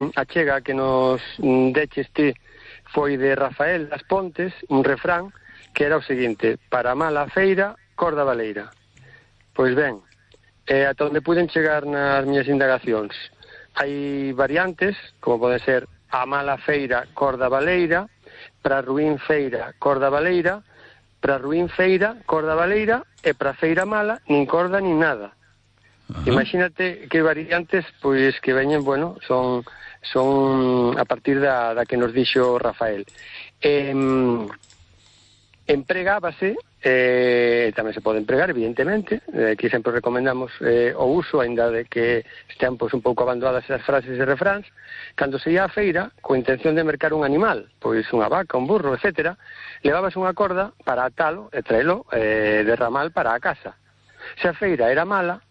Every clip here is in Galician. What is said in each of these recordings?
a chega que nos deches ti foi de Rafael das Pontes, un refrán que era o seguinte: para mala feira, corda baleira. Pois ben, ata onde puden chegar nas miñas indagacións, hai variantes, como pode ser a mala feira, corda baleira, para ruín feira, corda baleira, para ruín feira, corda baleira, e para feira mala, nin corda nin nada. Imagínate que variantes, pois que veñen, bueno, son a partir da que nos dixo Rafael. Empregábase, tamén se pode empregar, evidentemente, que sempre recomendamos o uso, aínda de que estean pois un pouco abandonadas as frases e refráns, cando se ia á feira, coa intención de mercar un animal, pois unha vaca, un burro, etc., levabas unha corda para atalo e traelo de ramal para a casa. Se a feira era mala,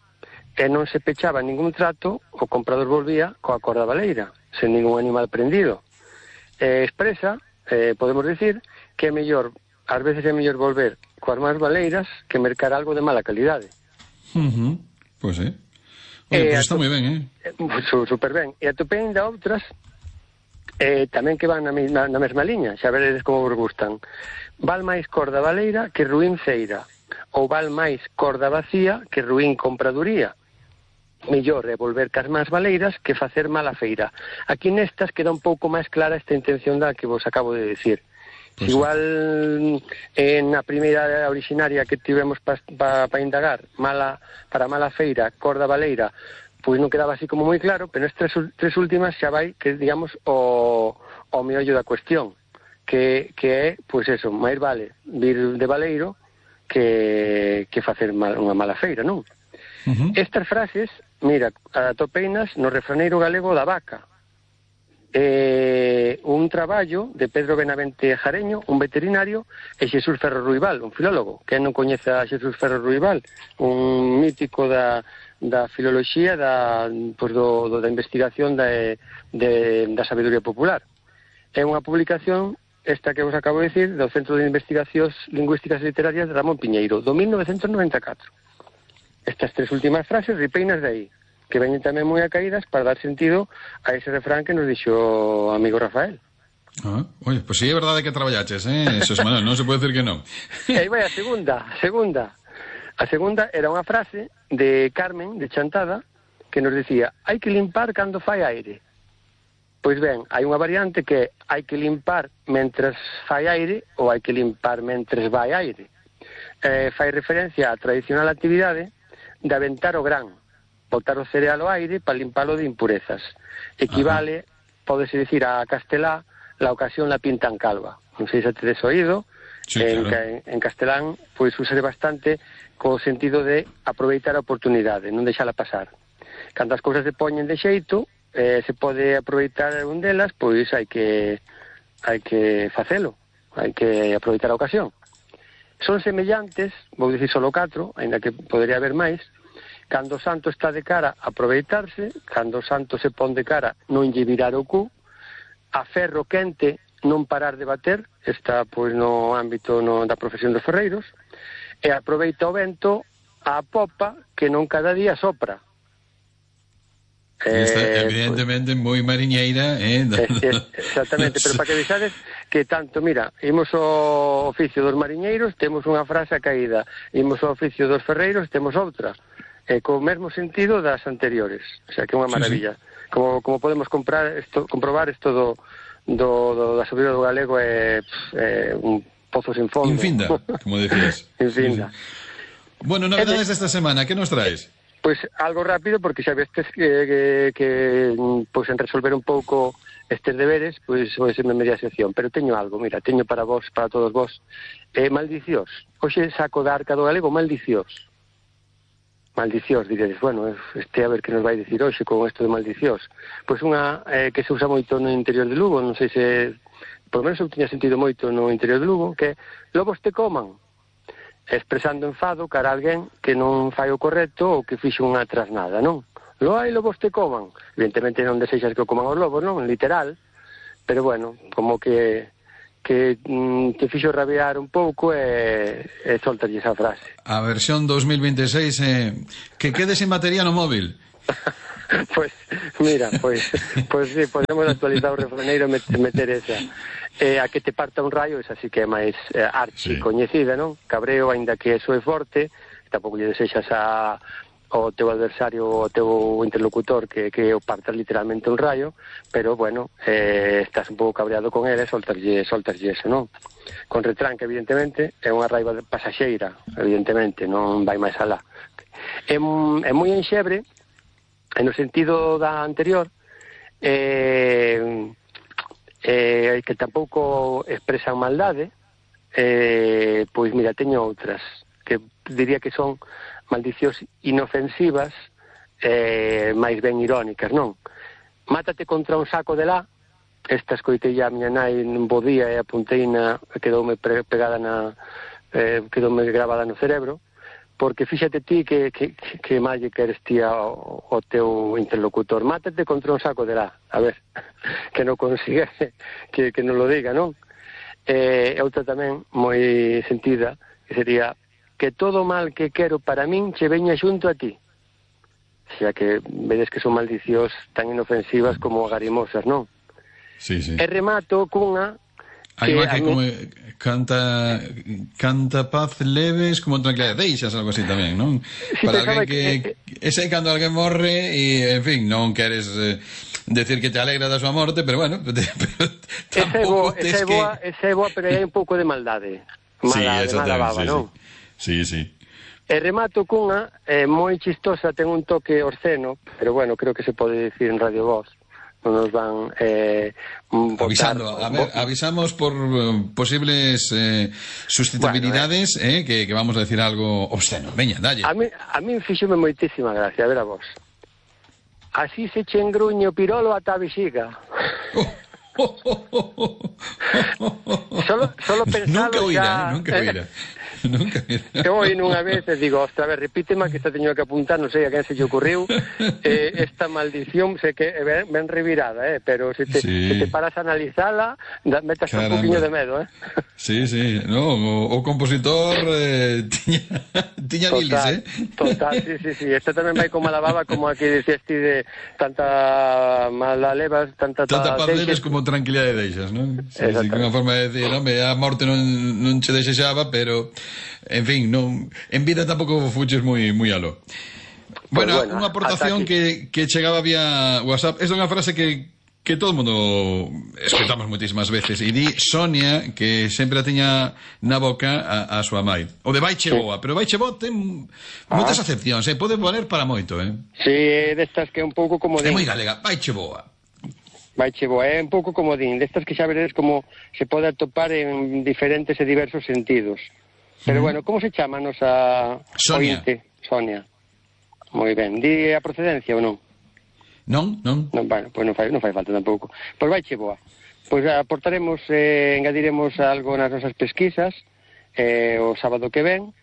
e non se pechaba ningún trato, o comprador volvía coa corda baleira, sen ningún animal prendido. Expresa, podemos decir, que é mellor, ás veces é mellor volver coas máis baleiras que mercar algo de mala calidade. Pois é. Oye, pues está moi ben, Super ben. E atopei ainda outras tamén que van na mesma liña, xa veredes como vos gustan. Val máis corda baleira que ruín feira, ou val máis corda vacía que ruín compraduría. Mellor é volver cas máis baleiras que facer mala feira. Aquí nestas queda un pouco máis clara esta intención da que vos acabo de decir. Pues igual na primeira originaria que tivemos para indagar, para mala feira, corda baleira, pois non quedaba así como moi claro, pero estas tres últimas xa vai, que digamos, o meollo da cuestión, que é, pois eso, máis vale vir de baleiro que facer unha mala feira, non? Estas frases, mira, atopeinas no refraneiro galego da Vaca, un traballo de Pedro Benavente Jareño, un veterinario, e Xesús Ferro Ruibal, un filólogo. Quen non coñece a Xesús Ferro Ruibal, un mítico da filoloxía, da investigación da sabedoría popular. É unha publicación, esta que vos acabo de decir, do Centro de Investigacións Lingüísticas e Literarias de Ramón Piñeiro, do 1994. Estas tres últimas frases ripeinas de aí, que veñen tamén moi acaídas para dar sentido a ese refrán que nos dixo o amigo Rafael. Oye, pues sí, é verdade que traballaches, Xosé Manuel, non se pode decir que non. E aí vai a segunda. A segunda era unha frase de Carmen, de Chantada, que nos dicía: hai que limpar cando fai aire. Pois ben, hai unha variante que hai que limpar mentres fai aire ou hai que limpar mentres vai aire. Fai referencia á tradicional actividade de aventar o gran, botar o cereal ao aire para limpalo de impurezas. Equivale, pódese dicir a castelá, la ocasión la pintan calva. Non sei se tedes oído, sí, claro. En castelán, pois usare bastante co sentido de aproveitar a oportunidade, non deixala pasar. Cando as cousas se poñen de xeito, se pode aproveitar un delas, pois hai que facelo, hai que aproveitar a ocasión. Son semellantes, vou dicir solo 4, aínda que podería haber máis. Cando o santo está de cara, aproveitarse. Cando o santo se pon de cara, non lle virar o cu. A ferro quente, non parar de bater. Está, pois, no ámbito da profesión dos ferreiros. E aproveita o vento a popa, que non cada día sopra. Esta, evidentemente, moi mariñeira, exactamente, pero para que vexades que tanto, mira, imos ao oficio dos mariñeiros, temos unha frase caída, imos ao oficio dos ferreiros, temos outra, co mesmo sentido das anteriores, o sea, que é unha maravilla. Sí. Como podemos comprobar isto da sabedoría do galego é un pozo sin fondo. Infinda, como decías. Infinda. Sí. Bueno, novedades desta semana, que nos traes? Pois algo rápido, porque xa vestes que pois en resolver un pouco estes deberes, pois vai ser media sección, pero teño algo, mira, teño para vos, para todos vos, maldicións. Hoxe saco da Arca do Galego maldicións. Maldicións, diredes, bueno, a ver que nos vai dicir hoxe con isto de maldicións. Pois unha que se usa moito no interior de Lugo, non sei se, por lo menos eu tiña sentido moito no interior de Lugo, que lobos te coman, expresando enfado cara a alguén que non fai o correcto ou que fixo unha trasnada, non? Hai lobos te coman. Evidentemente non desexas que o coman os lobos, non? Literal. Pero bueno, como que te fixo rabiar un pouco e soltalle esa frase. A versión 2026 que quede sin batería no móvil. Pois, mira, pois sí, podemos actualizar o refraneiro e meter esa. A que te parta un raio, esa sí que é máis archi coñecida, non? Cabreo, aínda que eso é forte, tampouco lle desexas ao teu adversario, ao teu interlocutor que o partas literalmente un rayo, pero bueno, estás un pouco cabreado con ele, soltaslle eso, non? Con retranque, evidentemente, é unha raiva pasaxeira, evidentemente, non vai máis alá. É moi enxebre, no sentido da anterior, que tampouco expresan maldade, pois mira, teño outras, que diría que son maldicións inofensivas, máis ben irónicas, non? Mátate contra un saco de lá, esta escoitei a miña nai nun bo día e apunteina, quedoume pegada quedoume grabada no cerebro, porque fíxate ti que máis lle queres ti ao teu interlocutor. Mátate contra un saco de lá, a ver, que non consigue que non lo diga, non? Outra tamén moi sentida, que sería que todo mal que quero para min che veña xunto a ti. Xa que vedes que son maldicións tan inofensivas como agarimosas, non? Sí, sí. E remato cunha hai unha que como canta paz leves como tranquilidade, deixas algo así tamén, non? Sí, para alguén que ese é cando alguén morre e, en fin, non queres decir que te alegra da súa morte, pero bueno, tampouco tes que... Esa é boa, pero hai un pouco de maldade. Mala baba, non? Sí, sí. E remato cunha moi chistosa, ten un toque obsceno, pero bueno, creo que se pode dicir en Radio Voz. Non nos van botar, avisamos por posibles susceptibilidades, bueno, que vamos a decir algo obsceno. Veña, dalle. A mí fíxome moitísima gracia, a ver a vos. Así se che engruñe o pirolo ata a vexiga. Solo pensalo nunca oíra. Eu oí nunha vez e digo, ostra, a ver, repítema que esta teño que apuntar, non sei a quen se lle ocurriu esta maldición, sei que é ben revirada, pero se te paras a analizala, metas un poquinho de medo, Sí, sí, no, o compositor tiña bilis, Total, sí, esta tamén vai como a la baba, como aquí dicías ti de tanta mala levas, tanta paz leves como tranquilidade deixas, non? Sí, que unha forma de decir, home, a morte non che desexaba, pero en fin, non, en vida tampouco fuches moi aló. Bueno, unha aportación que chegaba vía WhatsApp, é unha frase que todo o mundo escutamos moitísimas veces, e di Sonia que sempre a tiña na boca a súa mai. O de vaiche boa, pero vaiche boa ten moitas acepcións, pode valer para moito, Sí, destas que é un pouco como é moi galega, vaiche boa. Vaiche boa, é un pouco como din, destas que xa veredes como se pode atopar en diferentes e diversos sentidos. Pero bueno, como se chama a nosa Sonia. Sonia. Moi ben. Di a procedencia ou non? Non. Bueno, pois non fai falta tampouco. Pois vaiche boa. Pois aportaremos, engadiremos algo nas nosas pesquisas o sábado que ven,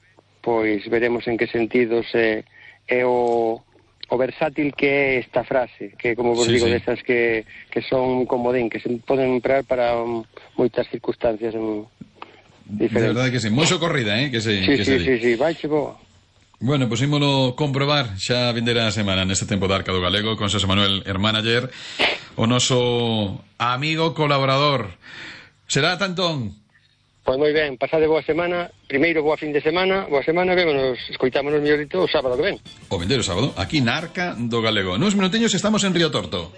pois veremos en que sentidos é o versátil que é esta frase, que como vos digo, desas que son un comodín, que se poden emprar para moitas circunstancias diferentes. De verdade que sí, moi socorrida, que se Sí, vaiche boa. Bueno, pois ímolo comprobar xa vindeira a semana neste tempo de Arca do Galego con Xosé Manuel Hermánager, o noso amigo colaborador. Será tantón. Pois moi ben, pasade boa semana. Primeiro, boa fin de semana. Boa semana, vémonos, escoitámonos mellorito o sábado que ven. O vindeiro sábado, aquí na Arca do Galego. Nuns minutiños estamos en Río Torto.